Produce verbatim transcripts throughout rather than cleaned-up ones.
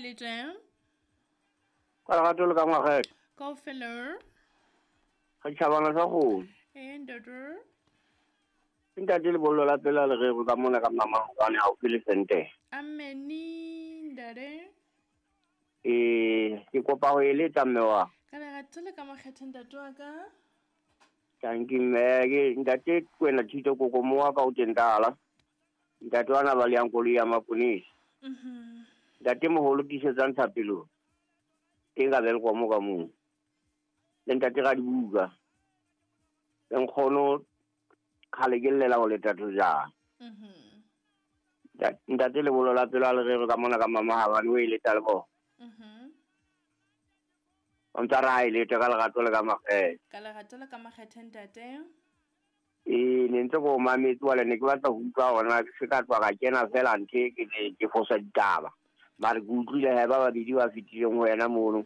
e le teng. Ka lerato le ka makgethe. Kaofela. Re tjhabana sa kgomo. Ee ntate. Ntate lebollo la pela le rero ka mona ka Mmamalokwane haufi le Sente. Ameni ntate. Eh, ke kopa ho eletsa mme wa. Ka lerato le ka makgethe ntate wa ka. Thank you mme, ke ntate Kwena Thito koko mo wa ka o teng tala. Ntate wa na ba le yang koloi ya maponesa. Mhm. Ntate moholo tiisetsang thapelo. Teng ka Welkom ka moo. Le ntate Radibuka. Le nkgono kgale ke llela ho leta thojana. Mhm. Ntate lebollo la pelo a le rero ka mona ka Mamahabane o eletsa le bona. Mhm. O ntsa re ha e lete ka lerato le ka makgethe. Ka lerato le ka makgethe ntate. Ee, ne ntse ko mametse wale ne ke batla ho utlwa hore na ke se ka tloha ka kena fela nthe ke ke fosa ditaba. Mare ke utlwile he ba babedi ba fetileng ho wena mono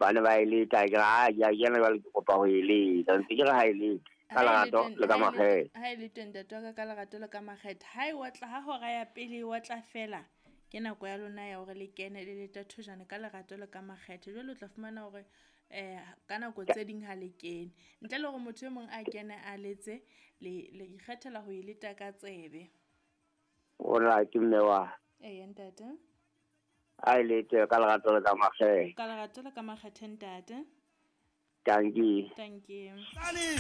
ba ne ba e leta, ke re ha ke a kena jwale ke kopa ho e leta. Ntse ke re ha e lete ka lerato le ka makgethe. Ha e le teng ntate wa ka ka lerato le ka makgethe. Ha e otla ha hora ya pele e otla fela ke nako ya lona ya hore le kene le leta thojana ka lerato le ka makgethe. Jwale o tla fumana hore eh ka nako tse ding ha le kene. Ntle le hore motho e mong a kene a letse le le ikgethela ho e leta ka tsebe. Ora ke mme wa. Ee ntate. Ha e lete ka lerato le ka makgethe. Ka lerato le ka makgethe ntate. Thank you. Thank you. Tsane.